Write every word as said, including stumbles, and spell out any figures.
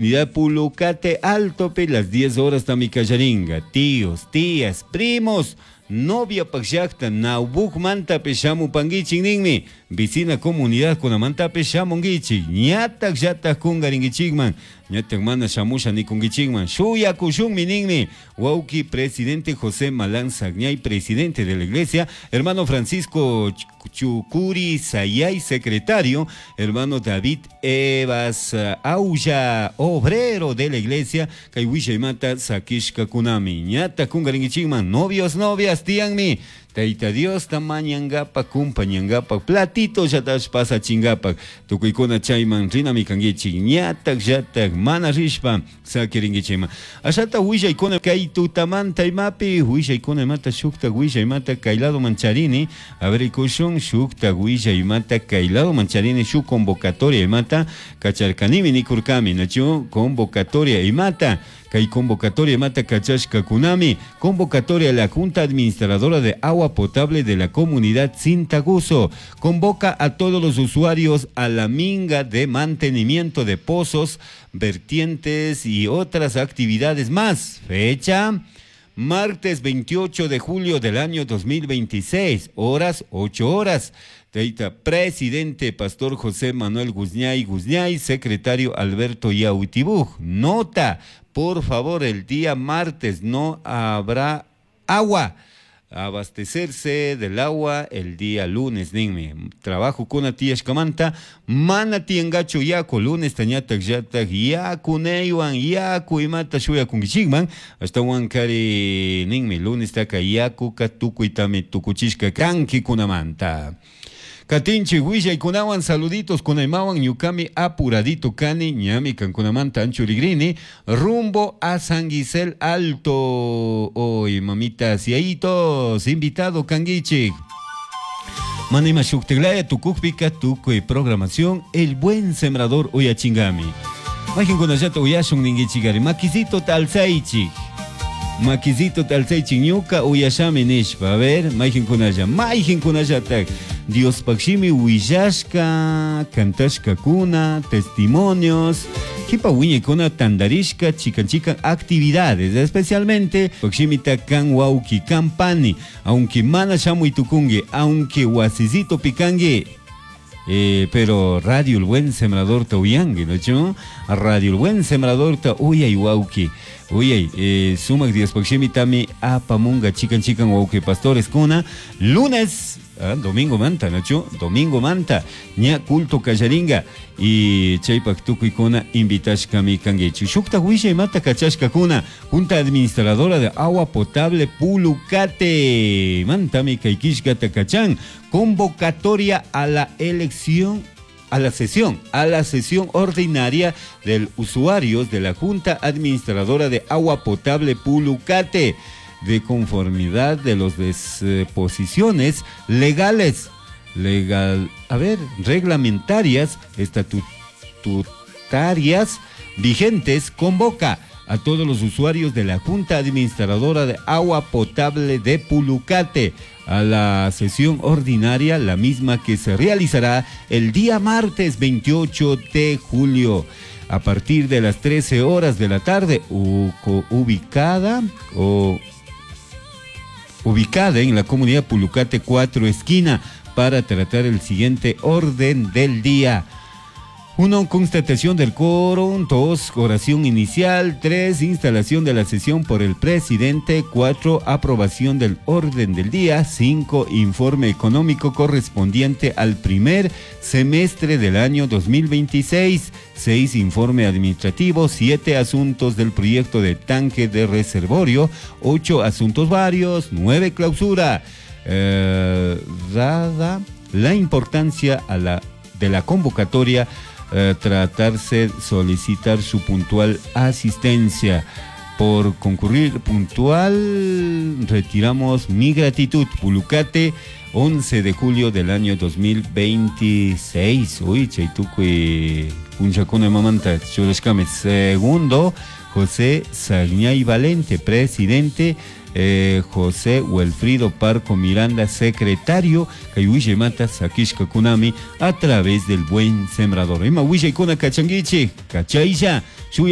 Comunidad Pulucate Alto, las diez horas tamikallaringa. Tíos, tías, primos, novia pakllakta, naubukmanta shamupanguichik ninmi. Vecina comunidad kunamantapish shamunguichik. Ñatak llatak kungaringuichikman. Ñatak mana shamusha nikunguichikman. Shuyakushunmi ninmi. Wauki presidente José Malán Sagñay, presidente de la iglesia. Hermano Francisco Chucuri Sayay, secretario. Hermano David Evas Aulla, obrero de la iglesia. Kay willaymanta sakishka kunami. Ñatak kungaringuichikman. Novios, novias, tianmi. Taita Dios mañangapa, kumpañangapa, platito llatash pasachingapa, tukuykuna chayman rinami kanguichik, ñatak llatak mana rishpa sakiringuichikman. Ashata willaykuna kay tutamanta imapi, willaykuna imata shukta willaymata kay lado mancharini, a ver ikushun shukta willaymata kay lado mancharini, shuk convocatoria imata kacharkanimi nikurkami, nachu convocatoria imata. Kay convocatoria mata kachashka kunami, convocatoria a la Junta Administradora de Agua Potable de la Comunidad Cintaguso. Convoca a todos los usuarios a la minga de mantenimiento de pozos, vertientes y otras actividades más. Fecha, martes veintiocho de julio del año dos mil veintiséis, horas ocho horas. Teita, presidente Pastor José Manuel Guzñay Guzñay, secretario Alberto Yautibuj. Nota, por favor, el día martes no habrá agua. Abastecerse del agua el día lunes, ninmi. Trabajo con tiyashkamanta, mana tiangacho yaku, lunes tañatak yatak yaku neywan, yaku imata shuyakunkichikman, hasta wankari ninmi, lunes taka yaku katukuitami tukuchishka kanki kunamanta. Katinchi willaykunawan saluditos kunaymawan ñukami apuradito kani ñami kankunamanta anchurigrini rumbo a San Gisel Alto. Hoy mamitas y ayitos invitado kanguichik. Manima shukteglaya tukukpika tukuy programación El Buen Sembrador uyachingami. Majinkunallata uyashun ninguichigari makisito talsaichik. Makisito talsaichik ñuka uyashami nishpa. A ver, majinkunalla, majinkunallatak. Dios pakshimi willashka, kantashka kuna, testimonios, kipa wiñaykuna tandarishka, chikan chikan actividades, especialmente pakshimita kan wauki kampani, aunque mana shamuy tukungi, aunque wasisito pikangi. Eh, pero Radio El Buen Sembrador ta uyangi, ¿no? Cho? Radio El Buen Sembrador ta uyay wauki. Uyay, eh, sumak Dios pakshimi tami apamunga chikan chikan wauki pastores kuna. Lunes, ah, domingo manta, ¿no? Cho? Domingo manta, ña culto kallaringa. Y chaypak tukuykuna invitashkami kanguichi. Shukta wishay mata kachashka kuna, Junta Administradora de Agua Potable Pulucate. Mantami kaikishka takachan. Convocatoria a la elección, a la sesión, a la sesión ordinaria del usuarios de la Junta Administradora de Agua Potable Pulucate, de conformidad de las disposiciones legales, legal, a ver, reglamentarias, estatutarias vigentes, convoca a todos los usuarios de la Junta Administradora de Agua Potable de Pulucate a la sesión ordinaria, la misma que se realizará el día martes veintiocho de julio a partir de las trece horas de la tarde, u-, ubicada o ubicada en la comunidad Pulucate cuatro esquina, para tratar el siguiente orden del día. Uno, constatación del quórum. Dos, oración inicial. Tres, instalación de la sesión por el presidente. Cuatro, aprobación del orden del día. Cinco, informe económico correspondiente al primer semestre del año dos mil veintiséis. Seis, informe administrativo. Siete, asuntos del proyecto de tanque de reservorio. Ocho, asuntos varios. Nueve, clausura. Eh, dada la importancia a la, de la convocatoria, eh, tratarse solicitar su puntual asistencia. Por concurrir puntual, retiramos mi gratitud. Pulucate, once de julio del año dos mil veintiséis. Uy, chaitucui, punchacuna mamanta, churashkame. Segundo, José Sagñay Valente, presidente. eh, José Wilfrido Parco Miranda, secretario, kay willaymanta sakishkakunami a través del Buen Sembrador. Ima willaykuna kachankichik, kachaylla, shuya